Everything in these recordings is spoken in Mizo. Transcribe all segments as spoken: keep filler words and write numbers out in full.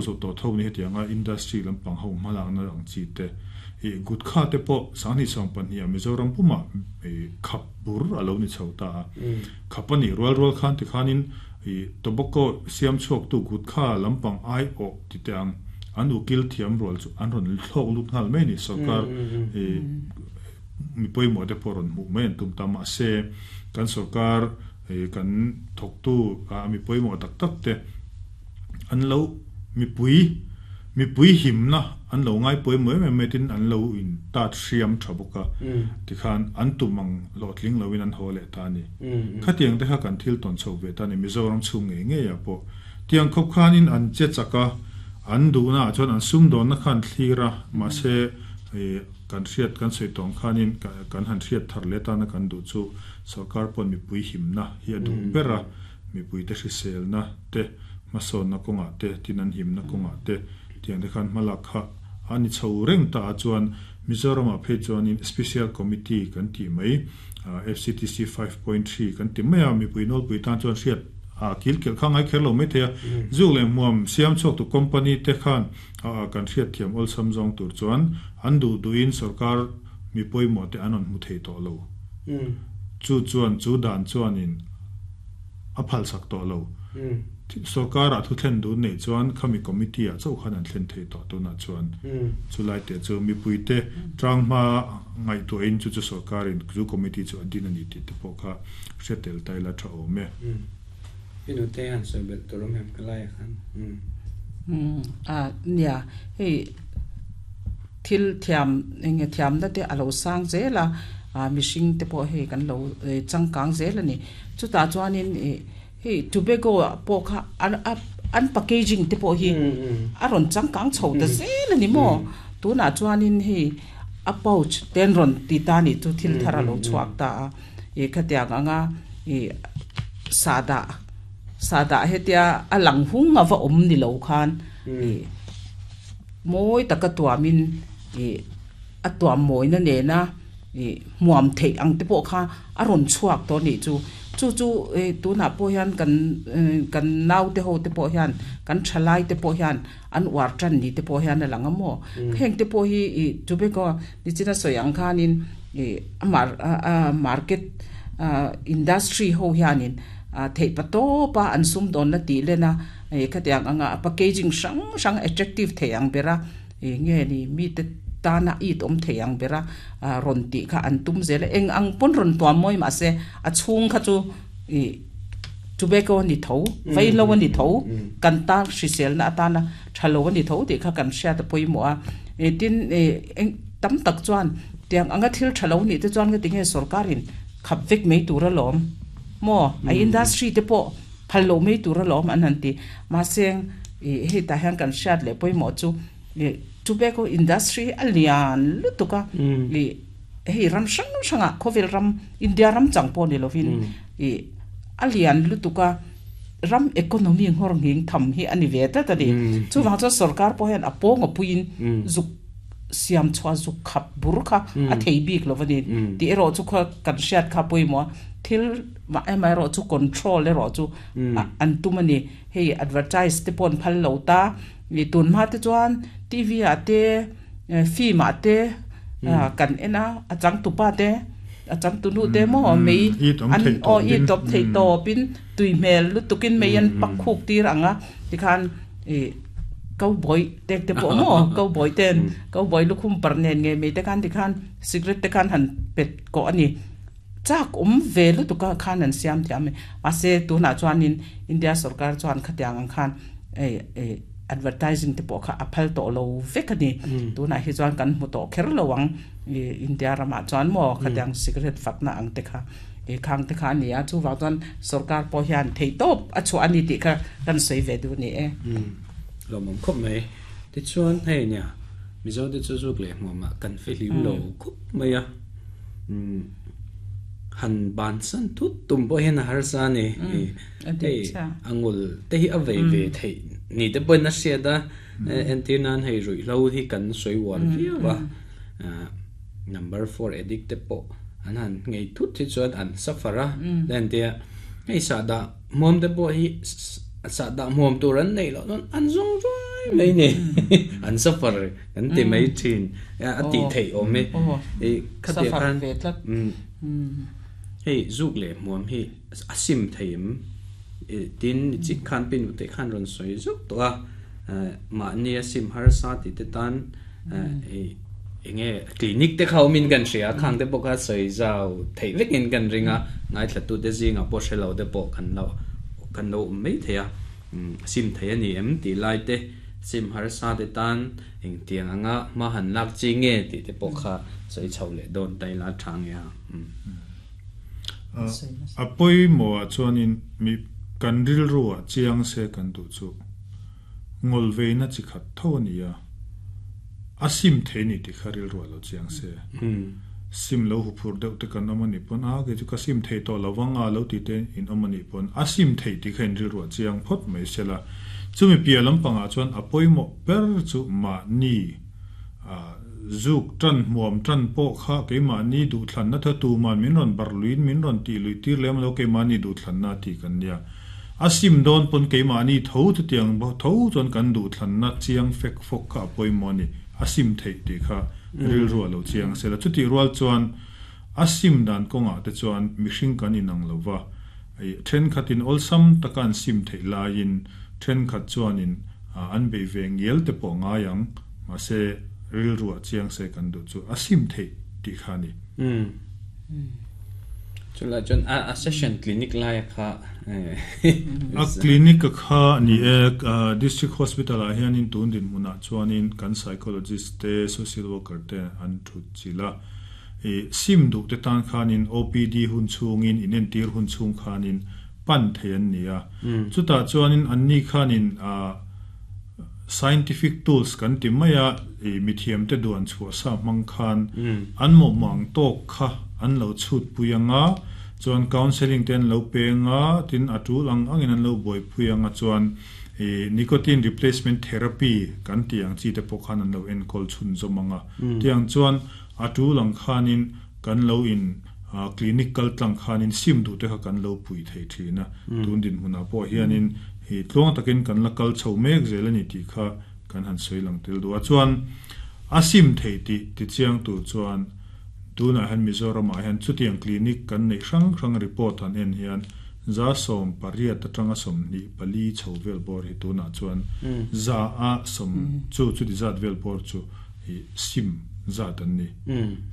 zo to tho ni hetianga industry lampang ho hmalakna ang chi te i gutkha te pawh sanghnih sawm pahnih ah Mizoram puma i khap bur a lo ni chho ta a khap a nih rual rual khan tikhanin i tobacco siam chhuak tu gutkha lampang ai awh ti teh ang an ukil thiam rual chu an rawn thlawk lut nghal mai a ni sorkar i mi pawimawh te pawh rawn hmuh mai an tum ta mahse kan sorkar i kan thawktu a mi pawimawh tak tak te an lo mipui mipui himna an lo ngai pawimawh em em mai tin an lo in tat hriam tha bawk a tikhan an tum ang hlawhtling loin an haw leh ta a ni khatiang te kha kan thil tawn chho ve ta a ni Mizoram chhung ngei ngei ah pawh tiang khawp khanin an che chak a an duhna ah chuan an sumdawnna kha an thlir a mahse kan hriat kan sawi tawng khanin kan han hriat thar leh tana kan duh chu sorkar pawn mipui himna hi a duh ber a mipui te hriselna te hmasawnna kawngah te tin an himna kawngah te tiang te khan hmalak kha a ni chho reng ta a chuan Mizoramah phei chuanin Special Committee kan tih mai F C T C five point three kan ti mai a mipui nawlpui tan chuan hriat a kil kelh kha ngai kher lo mai thei a zuk leh hmuam siam chhuak tu company te khan kan hriat thiam awlsam zawng tur chuan an duh duhin sorkar mi pawimawh te an rawn hmu thei tawh lo chu chuan chu dan chuanin a phalsak tawh lo sorkar ah thu thlen dun nei chuan khami committee ah chauh khan an thlen thei tawh tunah chuan chulai te chu mipui te tang hma ngaihtuahin chu chu sorkarin chu committee chu a din a ni tih te pawh kha hre tel ta ila tha awm e. Inu te han sawi belh tur awm em ka lai ah khan umm. A nia hei thil thiam enge thiamna te a lo sang zel a mihring te pawh hei kan lo changkang zel a ni chutah chuanin ih hei tobacco ah pawh kha an a an packaging te pawh hi a rawn changkang chho ta zel a ni maw tunah chuanin hei a pouch te an rawn ti ta a nih chu thil thar a lo chhuak ta a ih khatiang anga ih sahdah sahdah hetia a lang hung a va awm ni lo khan ih mawi taka tuamin ih a tuam mawina nena ih hmuam theih ang te pawh kha a rawn chhuak tawh a nih chu chu chu ih tunah pawh hian kan kan naute ho te pawh hian kan thalai te pawh hian an uar tan ni te pawh hian a lang a maw heng te pawh hi ih tobacco nichina sawi ang khanin ih a mar a market industry ho hianin theih pa tawp a an sumdawnna tih len a ih khatiang anga packaging hrang hrang attractive thei ang ber a ih nge ni mite tana it awm thei ang ber a rawn tih kha an tum zel a eng ang pawn rawn tuam mawi mahse a chhung kha chu ih tobacco a ni tho vaihlo a ni tho kan tan hriselna atana tha lo a ni tho tih kha kan hriat a pawimawh a ih tin ih eng tam tak chuan tiang anga thil tha lo nih te chuan nga tinge sorkarin khap vek mai tur alawm maw a industry te pawh phal lo mai tur alawm an han ti mahse ih hei tah hian kan hriat leh pawimawh chu ih tobacco industry a lian lutuk a ih hei ram hrang hrangah khawvel ram India ram chang pawh ni lovin ih a lian lutuk a ram economy nghawr nghing tham hi a ni ve tlat a ni chuvang chuan sorkar pawh hian a pawng a puiin zuk siam chhuah zuk khap bur kha a thei bik lo a ni tih erawh chu kha kan hriat kha pawimawh a thil mah emaw erawh chu control erawh chu an tum a ni hei advertise te pawh an phal lo ta ih tun hma te chuan T V ah te film ah te kan en a a changtupa te a changtunu te maw mei an aw i tawp thei tawpin tui hmel lutukin mei an pak khuk tir ang a tikhan ih cowboy te te pawh maw cowboy ten cowboy lukhum par nen ngei mai te khan tikhan cigarette te khan han pet kawh a ni chak awm ve lutuk a khan an siam thiam a ni mahse tunah chuanin India sorkar chuan khatiang ang khan ei ei advertising te pawh kha a phal tawh lo vek a ni tunah hi chuan kan hmu tawh kher lo ang ih India ramah chuan maw khatiang cigarette fakna ang te kha ih khang te kha a ni a chuvang chuan sorkar pawh hian theihtawp a chhuah a ni tih kha kan sawi ve duh a ni e. Lawmawm khawp mai tichuan hei nia Mizo te chu zuk leh hmuamah kan fihlim lo khawp mai a umm han bansan thut tum pawh hian a harsa a ni hei a ngul te hi a vei ve theih ni te pawhin a hriat a entir nan hei ruihhlo hi kan sawi uar viau a number four addict te pawh an han ngei thut hi chuan an suffer a entia hei sahdah hmuam te pawh hi sahdah hmuam tur an neih loh chuan an zawng ruai Mai ni an suffer kan ti mai thin a ti thei om e e khatia khan ve tlat hei zuk le muam hi asim theim tin chi khan pin te khan ron soi zuk to a ma ni asim har sa ti te tan e enge clinic te khau min kan ria khang te boka soi zau thei vekin kan ringa ngai thlatu te zinga po hrelo te po kan lo kan lo mai theia sim thei ani em ti lai te sim har sa te tan eng tiang anga ma han lak chi nge ti te po kha soi chho le don tai la thang ya a poi mo a chuanin mi kan ril ruwa chiang se kan du chu ngol ve na chi khat tho ni ya asim theni ti kharil ruwa lo chiang se sim lo hu phur deuh te kan amani pon a ke chu ka sim thei to lawanga lo ti te in amani pon asim thei ti khain ril ruwa chiang phot mai sela chumi pia lampanga chuan apoi mo per chu ma ni a zuk tran muam tran po kha ke ma ni du thlan na tha tu man min ron bar luin min ron ti lui tir lem lo ke ma ni du thlan na ti kan nia asim don pon ke ma ni tho tu tiang bo tho chon kan du thlan na chiang fek fok kha apoi mo ni asim thei ti kha ril ruwa lo chiang sela chuti rual chuan asim dan konga te chuan mihring kan inang lova ai then khatin olsam takan sim thei lain then khat chuanin an be ve ngel te po nga yang ma se ril ruwa chiang se kan du chu asim thei ti kha ni um chula chon a a session clinic lai kha a clinic kha ni e district hospital a hian in tun din muna chuanin kan psychologist te social worker te an thu chila e sim du te tan khanin O P D hun chungin inen tir hun chung khanin pan thean nia chuta chuanin anni khanin a scientific tools kan ti maya e mithiam te duan chu sa mang khan an mo mang tok kha an lo chut puyanga chuan counseling ten lo penga tin atul ang angin an lo boi puyanga chuan e nicotine replacement therapy kan tiang chi te pokhan an lo en kol chun zomanga tiang chuan atul ang khanin kan lo in clinical tlang khanin sim du te kha kan lo pui thei thina tun din huna po hianin hi tlong takin kan la kal chho mek zelani ti kha kan han soilang tel du a chuan asim thei ti ti chiang tu chuan tuna han Mizoram a hian chutiang clinic kan nei hrang hrang report han en hian za som pariat atanga som ni pali chho vel bor hi tuna chuan za a som chu chu ti zat vel bor chu hi sim za tan ni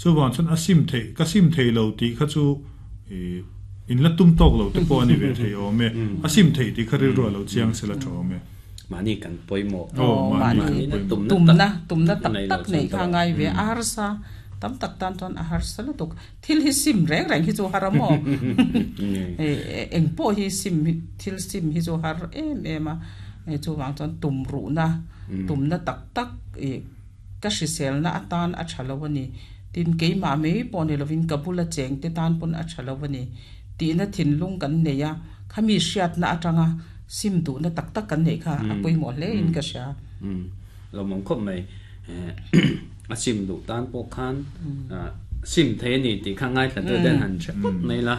chu wan chuan asim thei ka sim thei lo ti kha chu i in la tum tok lo te po ani ve thei o me asim thei ti kha ri ro lo chiang sela tho me mani kan poimo o mani tum na tum na tak tak nei kha ngai ve arsa tam tak tan ton a har sala tuk thil hi sim reng reng hi chu haramo e eng po hi sim thil sim hi chu har em em a e chu wang chon tum ru na tum na tak tak e ka hrisel na atan a thalawani tin ke ma me pon lovin kabula cheng te tan pon a thalawani ti na thin lung kan neya khami hriat na atanga sim du na tak tak kan nei kha apoi mo le in ka sha lo mong khop mai a sim du tan po khan sim the ni ti kha ngai tla den han che pot mai la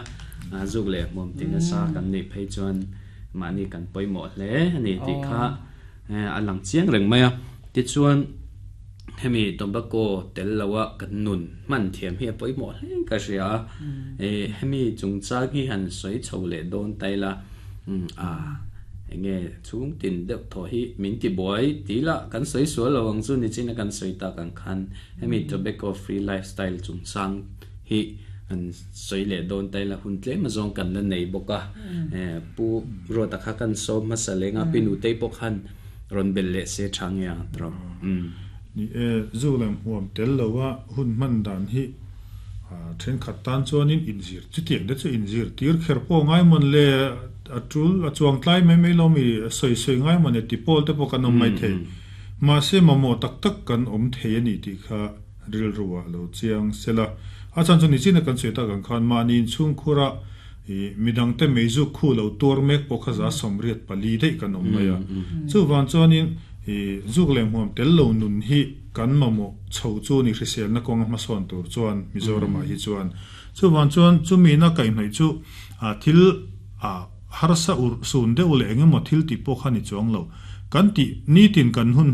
zuk le mom tin sa kan ni phei chuan ma ni kan poi mo hle ani ti kha a lang chiang reng mai a ti chuan hemi tobacco tel lawa kan nun man thiam hi poi mo hle ka ria e hemi chungcha gi han soi chho le don tai la a enge chung tin deuh tho hi min ti boy ti la kan soi su lo wang chu ni chin kan soi ta kan khan hemi tobacco free lifestyle chung sang hi an soi le don tai la hun tle ma zong kan la nei boka e pu ro ta kha kan so ma salenga pinu te pok han ron bel le se thang ya tro ni e zu lam huam tel lowa hun man dan hi a then khat tan chuanin inzir chutiang te chu inzir tir kher po ngai mon le atul achuang tlai mai mai lomi soi soi ngai mon e ti pol te pawh kan awm mai thei ma se mamo tak tak kan awm thei ani tih kha ril ruwa lo chiang sela a chan chu ni chin kan soi ta kan khan mani chung khura i midang te meizu khu lo tur mek pawh kha za somriat pali dei kan awm mai a chu wan chuanin i zuk lem huam tel lo nun hi kan mamo chho chu ni hrisel na kawng hma sawn tur chuan Mizoram ah hi chuan chu wan chuan chumi na kai hnai chu a thil a harsa ur sun deuh leh engemaw thil tih pawh kha ni chuang lo Kan ti ni tin kan hun